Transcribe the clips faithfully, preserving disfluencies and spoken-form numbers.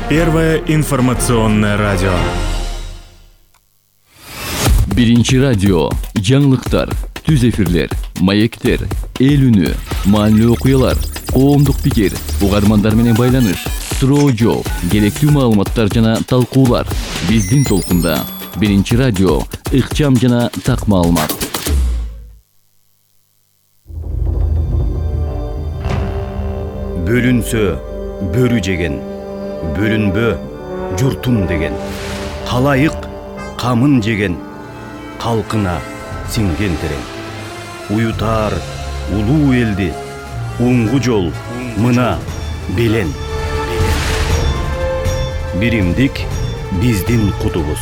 Первое информационное радио. Биринчи радио. Жаңылыктар, түз эфирлер, маектер, эл үнү, маанилүү окуялар, коомдук пикир, угармандар менен байланыш, суроо жооп, керектүү маалыматтар жана талкуулар. Биздин толкунда. Биринчи радио. Ыкчам жана так маалымат. Бөлүнсө бөрү жеген, бөлүнбө журтум деген. Калайык камын жеген, калкына сиңген терең. Уютар улуу элди, уңгу жол мына белен. Биримдик биздин кутубуз.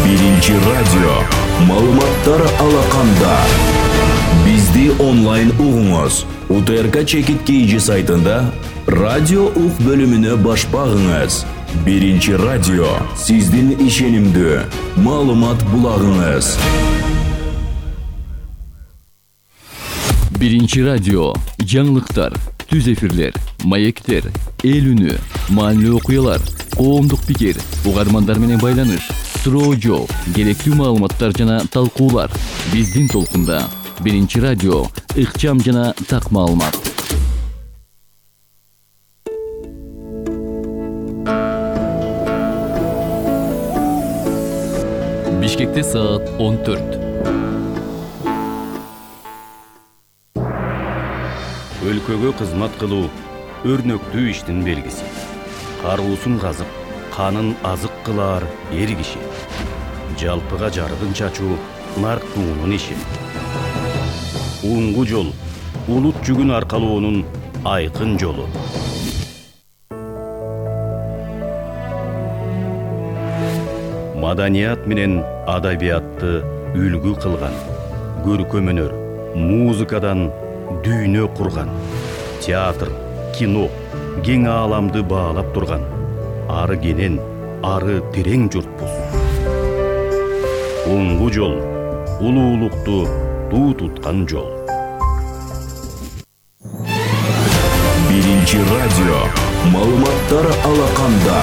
Биринчи радио. Маалыматтар алаканда. Бизди онлайн угуңуз. УТРК Чекит КЖ сайтында радио ук бөлүмүнө баш багыңыз. Биринчи радио. Сиздин ишенимдүү маалымат булагыңыз. Биринчи радио. Жаңылыктар, түз эфирлер, маектер, эл үнү, маанилүү окуялар, коомдук пикир, угармандар менен байланыш, суроо жооп, керектүү маалыматтар жана талкуулар. Биздин толкунда. Биринчи радио. Ыкчам жана так маалымат. Бишкекте саат он төрт. Өлкөгө кызмат кылуу өрнөктүү иштин белгиси. Каруусун казып, канын азык кылаар эр киши. Жалпыга жарыгын чачуу нарктуунун иши. Уңгу жол улут жүгүн аркалоонун айкын жолу. Маданият менен адабиятты үлгү кылган, көркөм өнөр, музыкадан дүйнө курган, театр, кино, кең ааламды баалап турган, ары кенен, ары терең журтпуз. Уңгу жол улуулукту туу туткан жол. Биринчи радио. Маалыматтар алаканда.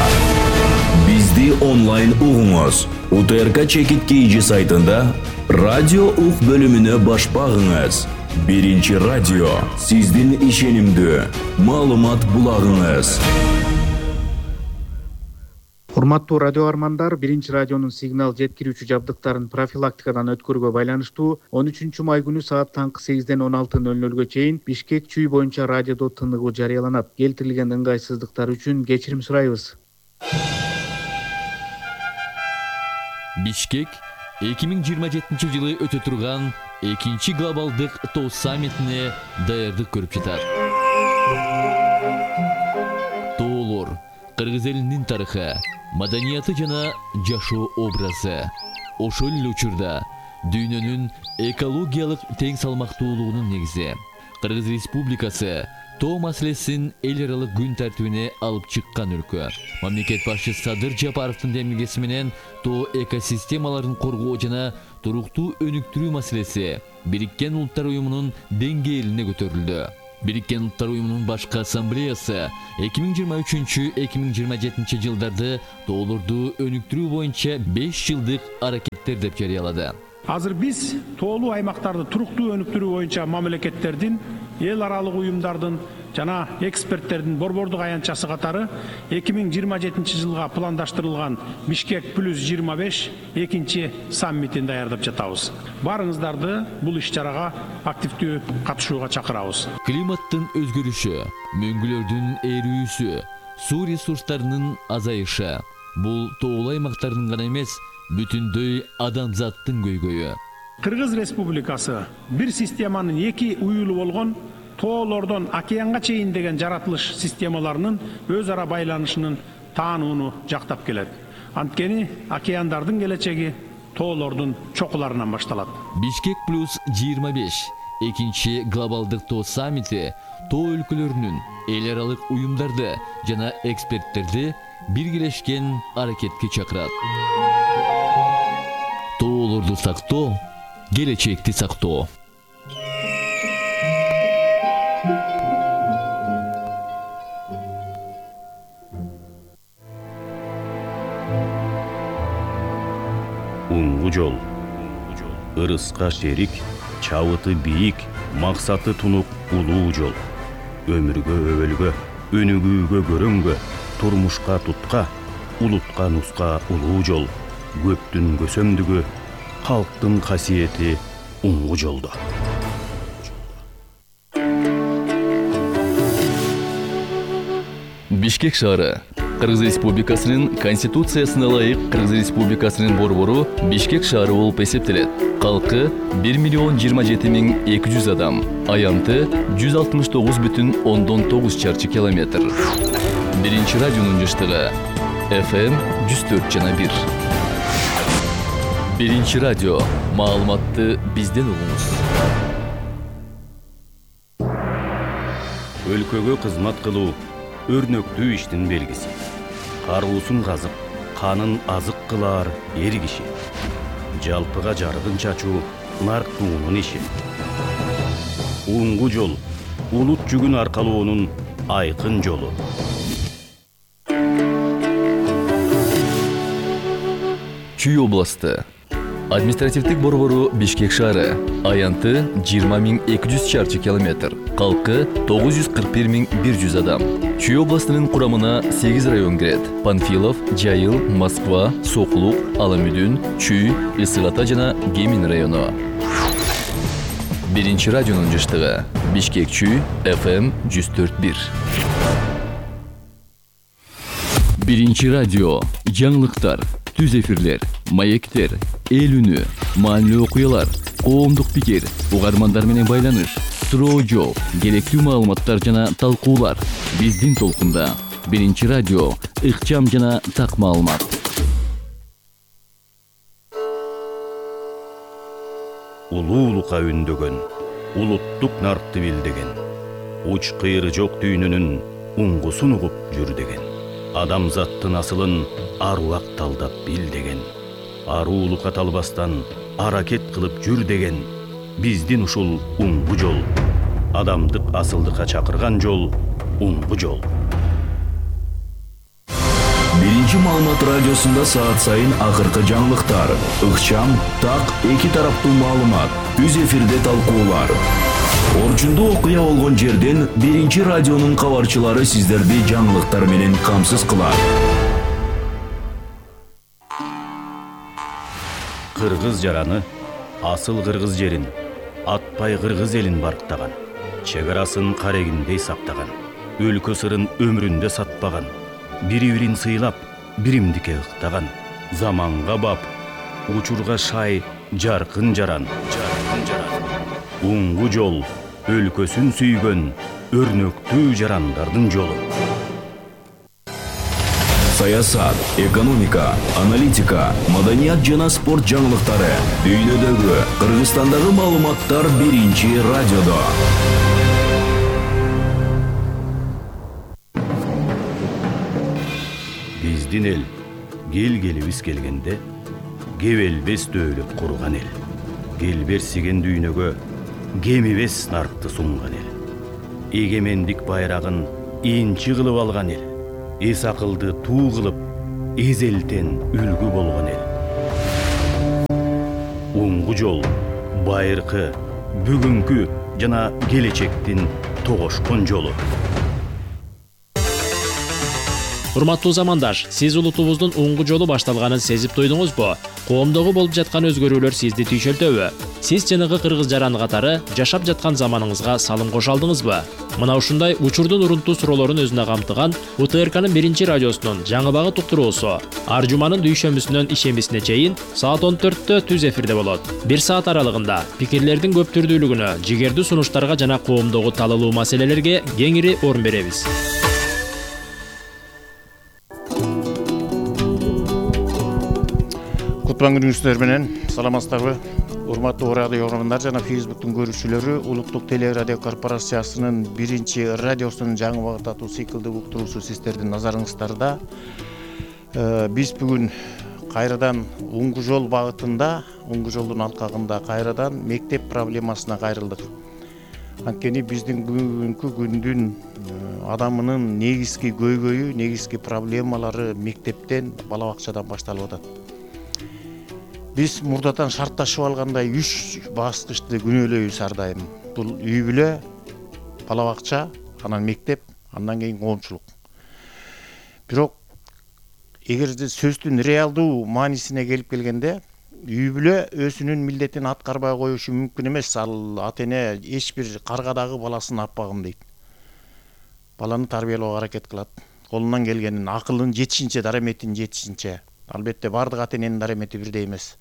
Бизди онлайн угуңуз. УТРК Чекит КЖ сайтында радио ук бөлүмүнө баш багыңыз. Биринчи радио. Сиздин ишенимдүү маалымат булагыңыз. Урматтуу радио армандар, Биринчи радионун сигнал жеткирүүчү жабдыктарын профилактикадан өткөрүүгө байланыштуу он үчүнчү май күнү саат таңкы сегизден он алты ноль нолго чейин Бишкек чүй боюнча радиодо тыныгуу жарыяланат. Келтирилген ыңгайсыздыктар үчүн кечирим сурайбыз. Бишкек эки миң жыйырма жетинчи жылы өтө турган экинчи глобалдык тоо саммитине даярдык көрүп жатат. Тоолор кыргыз элинин тарыхы, маданияты жана жашоо образы. Ошол эле учурда дүйнөнүн экологиялык тең салмактуулугунун негизи. Кыргыз Республикасы тоо маселесин эл аралык күн тартибине алып чыккан өлкө. Мамлекет башчысы Садыр Жапаровдун демилгеси менен тоо экосистемаларын коргоо жана туруктуу өнүктүрүү маселеси Бириккен Улуттар уюмунун деңгээлине көтөрүлдү. Бириккен Улуттар уюмунун башкы ассамблеясы эки миң жыйырма үчүнчү - эки миң жыйырма жетинчи жылдарды тоолорду өнүктүрүү боюнча беш жылдык аракеттер деп жарыялады. Азыр биз тоолуу аймактарды туруктуу өнүктүрүү боюнча мамлекеттердин, эл аралык уюмдардын жана эксперттердин борбордук аянтчасы катары эки миң жыйырма жетинчи жылга пландаштырылган Бишкек плюс жыйырма беш экинчи саммитин даярдап жатабыз. Барыңыздарды бул иш-чарага активдүү катышууга чакырабыз. Климаттын өзгөрүшү, мөңгүлөрдүн эрүүсү, суу ресурстарынын азайышы бул тоолуу аймактардын гана эмес, бүтүндөй адамзаттын көйгөйү. Кыргыз Республикасы бир системанын эки уюлу болгон тоолордон океанга чейин деген жаратылыш системаларынын өз ара байланышынын таанууну жактап келет. Анткени океандардын келечеги тоолордун чокуларынан башталат. Бишкек плюс жыйырма беш экинчи глобалдык тоо саммити тоо өлкөлөрүнүн, эл аралык уюмдарды жана эксперттерди биргелешкен аракетке чакырат. Тоолорду сактоо, келечекти сактоо. Уңгу жол. Ырыска шерик, чабыты бийик, максаты тунук улуу жол. Өмүргө өбөлгө, өнүгүүгө көрөнгө, турмушка тутка, улутка нуска улуу жол. Көптүн көсөмдүгү, халктын касиети уңгу жолдо. Бишкек шаары Кыргыз Республикасынын Конституциясына ылайык Кыргыз Республикасынын борбору Бишкек шаары болуп эсептелет. Калкы бир миллион жыйырма жети миң эки жүз адам, аянты жүз алтымыш тогуз бүтүн ондон тогуз чарчы километр. Биринчи радионун жыштыгы эф эм жүз төрт жана бир. Биринчи радио. Маалыматты бизден угуңуз. Өлкөгө кызмат кылуу өрнөктүү иштин белгиси. Каруусун казып, канын азык кылаар эр киши. Жалпыга жарыгын чачуу нарктуунун иши. Уңгу жол улут жүгүн аркалоонун айкын жолу. Чүй областы. Административдик борбору Бишкек шаары, аянты жыйырма миң эки жүз чарчы километр, калкы тогуз жүз кырк бир миң бир жүз адам. Чүй областынын курамына сегиз район кирет: Панфилов, Жайыл, Москва, Соклук, Аламүдүн, Чүй, Ысык Ата жана Кемин району. Биринчи радионун жыштыгы Бишкек Чүй, эф эм жүз төрт бир. Биринчи радио. Жаңылыктар, түз эфирлер, маектер, эл үнү, маанилүү окуялар, коомдук пикир, угармандар менен байланыш, суроо жооп, керектүү маалыматтар жана талкуулар. Биздин толкунда. Биринчи радио. Ыкчам жана так маалымат. Улуулукка үндөгөн, улуттук нартты билдеген, уч кыйры жок дүйнөнүн уңгусун угуп жүр деген. Адамзаттын асылын аруак талдап бил деген. Аруулукка талбастан аракет кылып жүр деген. Биздин ушул уңгу жол. Адамдык асылдыкка чакырган жол уңгу жол. Биринчи маалымат радиосунда саат сайын акыркы жаңылыктар, ыкчам, так, эки тараптуу маалымат, түз эфирде талкуулар. Орчундуу окуя болгон жерден биринчи радионун кабарчылары сиздерди жаңылыктар менен камсыз кылат. Кыргыз жараны асыл кыргыз жерин, атпай кыргыз элин барктаган, чек арасын карегиндей сактаган, өлкө сырын өмүрүндө сатпаган, бири-бирин сыйлап, биримдикке ыктаган, заманга бап, учурга шай, жаркын жаран, жаркын жаран. Уңгу жол өлкөсүн сүйгөн өрнөктүү жарандардын жолу. Саясат, экономика, аналитика, маданият жана спорт жаңылыктары, дүйнөдөгү, Кыргызстандагы маалыматтар биринчи радиодо. Биздин эл кел-келибиз келгенде кебелбес дөөлөт курган эл. Келберсиген дүйнөгө кемибес наркты сунган эл. Эгемендик байрагын инчи кылып алган эл. Эс акылды туу кылып, эзелтен үлгү болгон эл. Уңгу жол байыркы, бүгүнкү жана келечектин тогошкон жолу. Урматтуу замандаш, сиз улутубуздун уңгу жолу башталганын сезип туйдуңузбу? Коомдогу болуп жаткан өзгөрүүлөр сизди түйшөлтөбү? Сиз жанагы кыргыз жараны катары жашап жаткан заманыңызга салым кошо алдыңызбы? Мына ушундай учурдун урунтуу суроолорун өзүнө камтыган У Т Р К'нын биринчи радиосунун жаңы багыт уктуруусу ар жуманын дүйшөмбүсүнөн ишембисине чейин саат он төрттө түз эфирде болот. Бир саат аралыгында пикирлердин көп түрдүүлүгүнө, жигердүү сунуштарга жана коомдогу талалуу маселелерге кеңири орун беребиз. Кутман күнүңүздөр менен саламатсыздарбы? Урматтуу радио угармандар жана Фейсбуктун көрүүчүлөрү, Улуттук телерадио корпорациясынын биринчи радиосунун жаңы багыт аттуу циклдик уктуруусу сиздердин назарыңыздарда. Биз бүгүн кайрадан уңгу жол багытында, уңгу жолдун алкагында кайрадан мектеп проблемасына кайрылдык. Анткени биздин бүгүнкү күндүн адамынын негизги көйгөйү, негизги проблемалары мектептен, бала бакчадан башталып атат. биз мурдатан шартташып алгандай үч баскычты күнөөлөйбүз ар дайым. Бул үй бүлө, бала бакча, анан мектеп, андан кийин коомчулук. Бирок эгерде сөздүн реалдуу маанисине келип келгенде, үй бүлө өзүнүн милдетин аткарбай коюшу мүмкүн эмес. Ал ата эне эч бир каргадагы баласын аппагым дейт. Баланы тарбиялоого аракет кылат. Колунан келгенин, акылын жетишинче, дараметин жетишинче. Албетте бардык ата эненин дарамети бирдей эмес.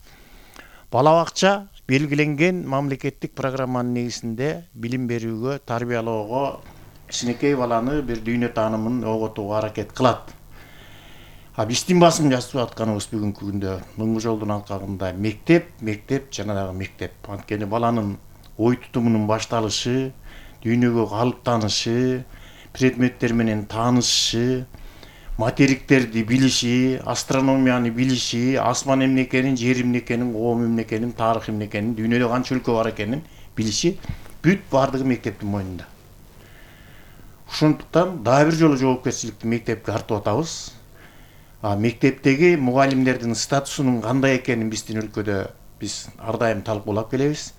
Бала бакча белгиленген мамлекеттик программанын негизинде билим берүүгө, тарбиялоого, кичинекей баланы бир дүйнө таанымын оготууга аракет кылат. А биздин басым жасап атканыбыз бүгүнкү күндө мыңгы жолдун алкагында мектеп, мектеп жана дагы мектеп. Анткени баланын ой тутумунун башталышы, дүйнөгө калыптанышы, предметтер менен таанышышы, материктерди билиши, астрономияны билиши, асман эмне экенин, жер эмне экенин, коом эмне экенин, тарых эмне экенин, дүйнөдө канча өлкө бар экенин билиши бүт бардыгы мектептин мойнунда. Ошондуктан дагы бир жолу жоопкерчиликти мектепке артып атабыз. А мектептеги мугалимдердин статусунун кандай экенин биздин өлкөдө биз ар дайым талкуулап келебиз.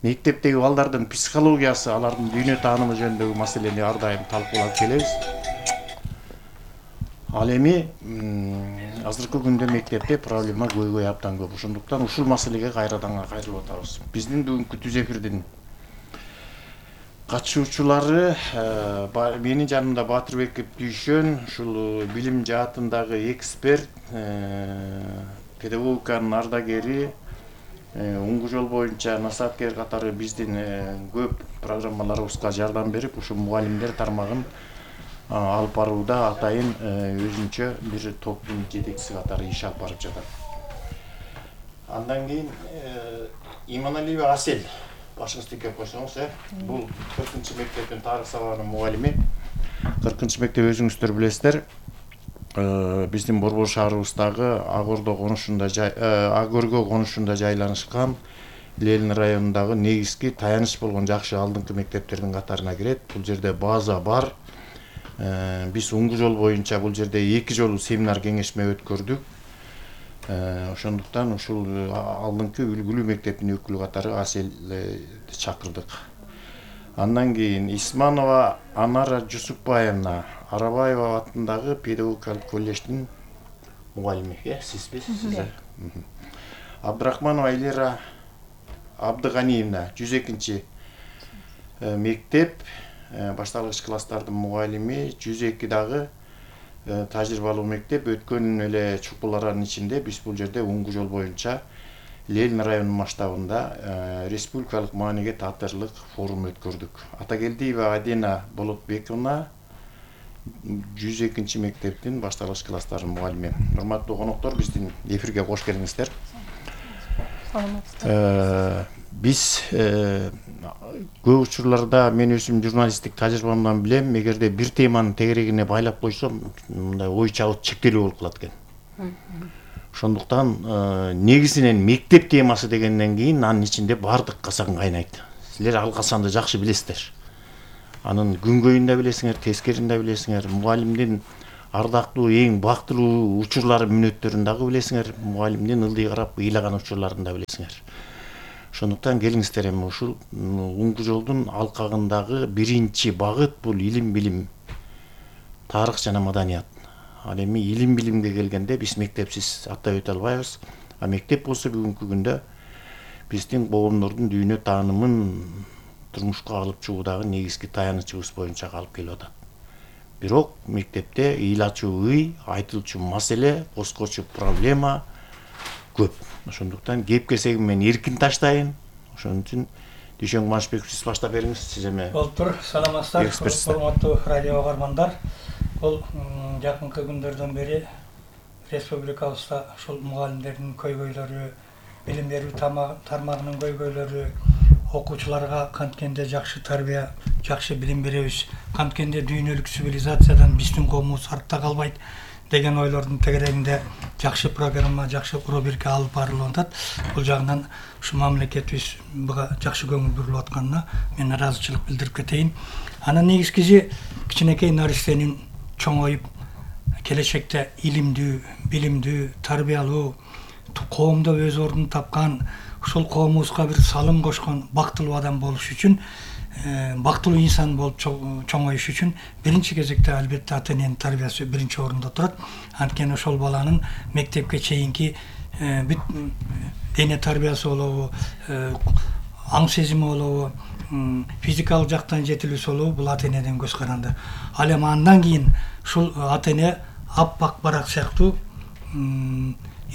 Мектептеги балдардын психологиясы, алардын дүйнө таанымы жөнүндөгү маселени ар дайым талкуулап келебиз. Ал эми азыркы күндө мектепте проблема көйгөй абдан көп. Ошондуктан ушул маселеге кайрадан кайрылып атабыз. Биздин бүгүнкү түз эфирдин катышуучулары менин жанымда Батырбек Дүйшөн, ушул билим жаатындагы эксперт, педагогиканын ардагери, уңгу жол боюнча насаапкер катары биздин көп программаларыбызга жардам берип, ушул мугалимдер тармагын алып барууда атайын өзүнчө бир топтун жетекчиси катары иш алып барып жатат. Андан кийин Иманалиева Асель, башыңызды ийкеп койсоңуз, э? Бул кыркынчы мектептин тарых сабагынын мугалими. кыркынчы мектеп өзүңүздөр билесиздер, биздин Борбор шаарыбыздагы Агордо конушунда, Агөргө конушунда жайланышкан Ленин районундагы негизги таяныч болгон жакшы алдыңкы мектептердин катарына кирет. Бул жерде база бар. Биз уңгу жол боюнча бул жерде эки жолу семинар кеңешме өткөрдүк. Ошондуктан ушул алдыңкы үлгүлүү мектептин өкүлү катары Аселди чакырдык. Андан кийин Исманова Анара Жусупбаевна, Арабаева атындагы педагогикалык колледждин мугалими, э, сизби? Сиз. Абдрахманова Элира Абдыганиевна, жүз экинчи мектеп, башталгыч класстардын мугалими, жүз эки дагы тажрыйбалуу мектеп. Өткөн эле чукуларанын ичинде биз бул жерде уңгу жол боюнча Ленин районунун масштабында республикалык мааниге таатырлык форум өткөрдүк. Атагелдиева Адина Болотбековна, жүз экинчи мектептин башталгыч класстарынын мугалими. Урматтуу коноктор, биздин эфирге кош келиңиздер. Биз көп учурларда мен өзүм журналисттик тажрыйбамдан билем, эгерде бир теманын тегерегине байлап койсом, мындай ой чабыт чектелүү болуп калат экен. Ошондуктан негизинен мектеп темасы дегенден кийин анын ичинде бардык касан кайнайт. Силер ал касанды жакшы билесиздер. Анын күнгөйүн да билесиңер, тескерин да билесиңер, мугалимдин ардактуу, эң бактылуу учурлары, мүнөттөрүн дагы билесиңер, мугалимдин ылдый карап ыйлаган учурларын да билесиңер. Ошондуктан келиңиздер, эми ушул уңгу жолдун алкагындагы биринчи багыт бул илим билим, тарых жана маданият. Ал эми илим билимге келгенде биз мектепсиз аттай өтө албайбыз. А мектеп болсо бүгүнкү күндө биздин коомдордун дүйнө таанымын турмушка алып чыгуудагы негизги таянычыбыз боюнча калып келип атат. Бирок мектепте ыйлачу ый, айтылчу маселе, коскочу проблема көп. Ошондуктан кеп кесегим мен эркин таштайын. Ошон үчүн Дүйшөн Кубанычбеков, сиз баштап бериңиз. Сиз эме Болтур, саламатсыздар, урматтуу радио угармандар. Бул жакынкы күндөрдөн бери республикабызда ушул мугалимдердин көйгөйлөрү, билим берүү тармагынын көйгөйлөрү, окуучуларга канткенде жакшы тарбия, жакшы билим беребиз, канткенде дүйнөлүк цивилизациядан биздин коомубуз артта калбайт деген ойлордун тегерегинде жакшы программа, жакшы рубрика алып барылып атат. Бул жагынан ушу мамлекетибиз буга жакшы көңүл бурулуп атканына мен ыраазычылык билдирип кетейин. Анын негизгиси кичинекей наристенин чоңоюп келечекте илимдүү, билимдүү, тарбиялуу, коомдо өз ордун тапкан, ушул коомубузга бир салым кошкон бактылуу адам болуш үчүн, бактылуу инсан болуп чоңоюш үчүн биринчи кезекте албетте ата эненин тарбиясы биринчи орунда турат. Анткени ошол баланын мектепке чейинки бүт дене тарбиясы болобу, аң сезими болобу, физикалык жактан жетилүүсү болобу, бул ата энеден көз каранды. Ал эми андан кийин ушул ата эне аппак барак сыяктуу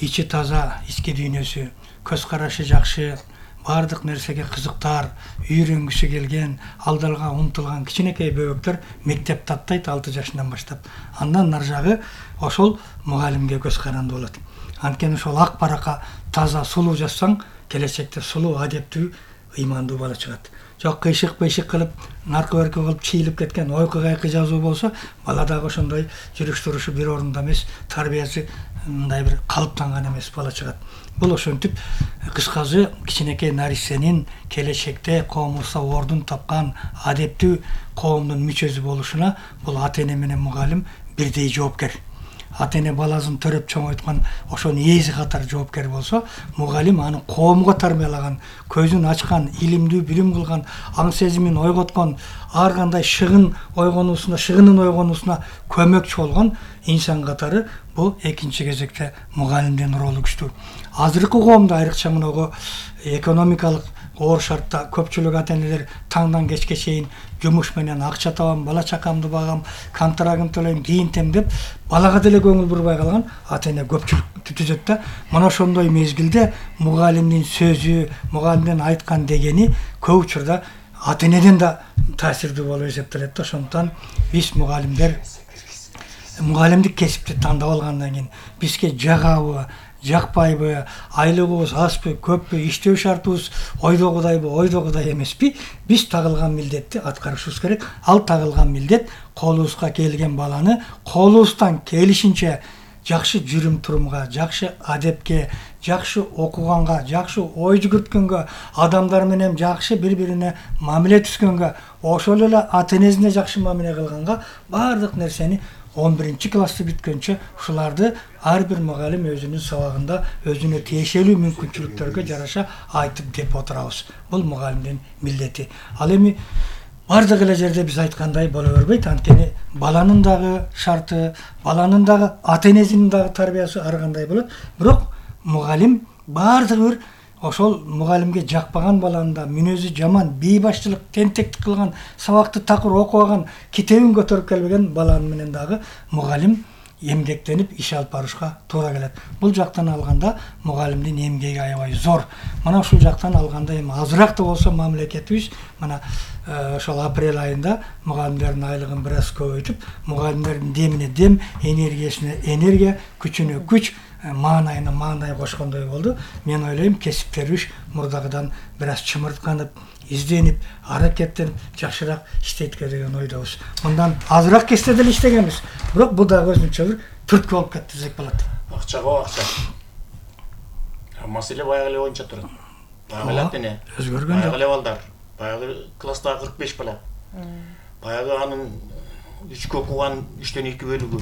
ичи таза, ички дүйнөсү, көз карашы жакшы, баардык нерсеге кызыктар, үйрөнгүсү келген, алдыга умтулган кичинекей бөбөктөр мектеп таттайт алты жашынан баштап. Андан нар жагы ошол мугалимге көз каранды болот. Анткени ошол ак баракка таза, сулуу жазсаң, келечекте сулуу, адептүү, ыймандуу бала чыгат. Жок кыйшык-пыйшык кылып, наркы-берки кылып чийилип кеткен, ойку-кайкы жазуу болсо, бала дагы ошондой жүрүш турушу бир орунда эмес, тарбиясы мындай бир калыптанган эмес бала чыгат. Бул ошентип кыскасы кичинекей нарисенин келечекте коомубузда ордун тапкан адептүү коомдун мүчөсү болушуна бул ата эне менен мугалим бирдей жоопкер. Ата эне баласын төрөп чоңойткан ошонун ээси катары жоопкер болсо, мугалим аны коомго тарбиялаган, көзүн ачкан, илимдүү билим кылган, аң сезимин ойготкон, ар кандай шыгын ойгонуусуна, шыгынын ойгонуусуна көмөкчү болгон инсан катары бул экинчи кезекте мугалимдин ролу күчтүү. Азыркы коомдо айрыкча мынагу экономикалык оор шартта көпчүлүк ата энелер таңдан кечке чейин жумуш менен акча табам, бала чакамды багам, контрагын төлөйм, кийинтем деп балага деле көңүл бурбай калган ата эне көпчүлүктү түзөт да. Мына ошондой мезгилде мугалимдин сөзү, мугалимдин айткан дегени көп учурда ата энеден да таасирдүү болуп эсептелет да. Ошондуктан биз мугалимдер мугалимдик кесипти тандап алгандан кийин бизге жагабы, жакпайбы, айлыгыбыз азбы, көппү, иштөө шартыбыз ойдогудайбы, ойдогудай эмеспи, биз тагылган милдетти аткарышыбыз керек. Ал тагылган милдет колубузга келген баланы колубуздан келишинче жакшы жүрүм турумга, жакшы адепке, жакшы окуганга, жакшы ой жүгүрткөнгө, адамдар менен жакшы бири-бирине мамиле түзгөнгө, ошол эле ата энесине жакшы мамиле кылганга баардык нерсени он биринчи классты бүткөнчө ушуларды ар бир мугалим өзүнүн сабагында өзүнө тиешелүү мүмкүнчүлүктөргө жараша айтып деп отурабыз. Бул мугалимдин милдети. Ал эми бардык эле жерде биз айткандай боло бербейт. Анткени баланын дагы шарты, баланын дагы ата энесинин дагы тарбиясы ар кандай болот. Бирок мугалим бардыгы бир ошол мугалимге жакпаган баланын да мүнөзү жаман, бейбашчылык, тентектик кылган, сабакты такыр окубаган, китебин көтөрүп келбеген баланын менен дагы мугалим эмгектенип иш алып барышка туура келет. Бул жактан алганда мугалимдин эмгеги аябай зор. Мына ушул жактан алганда эми азыраак да болсо мамлекетибиз мына ошол апрель айында мугалимдердин айлыгын бир аз көбөйтүп, мугалимдердин демине дем, энергиясына энергия, күчүнө күч, маанайына маанай кошкондой болду. Мен ойлойм, кесиптерибиз мурдагыдан бир аз чымыртканып, изденип, аракеттенип, жакшыраак иштейт деген ойдобуз. Мындан азыраак кесте деле иштегенбиз. Бирок бул дагы өзүнчө бир түрткү болуп кетти десек болот. Акчага акча. Маселе баягы эле боюнча турат. Баягы эле ата эне. Өзгөргөн жок. Баягы эле балдар. Баягы класстагы кырк беш бала. Баягы анын үчкө окуган үчтөн эки бөлүгү.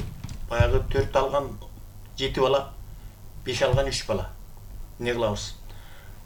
Баягы төрт алган жети бала, беш алган үч бала. Эмне кылабыз?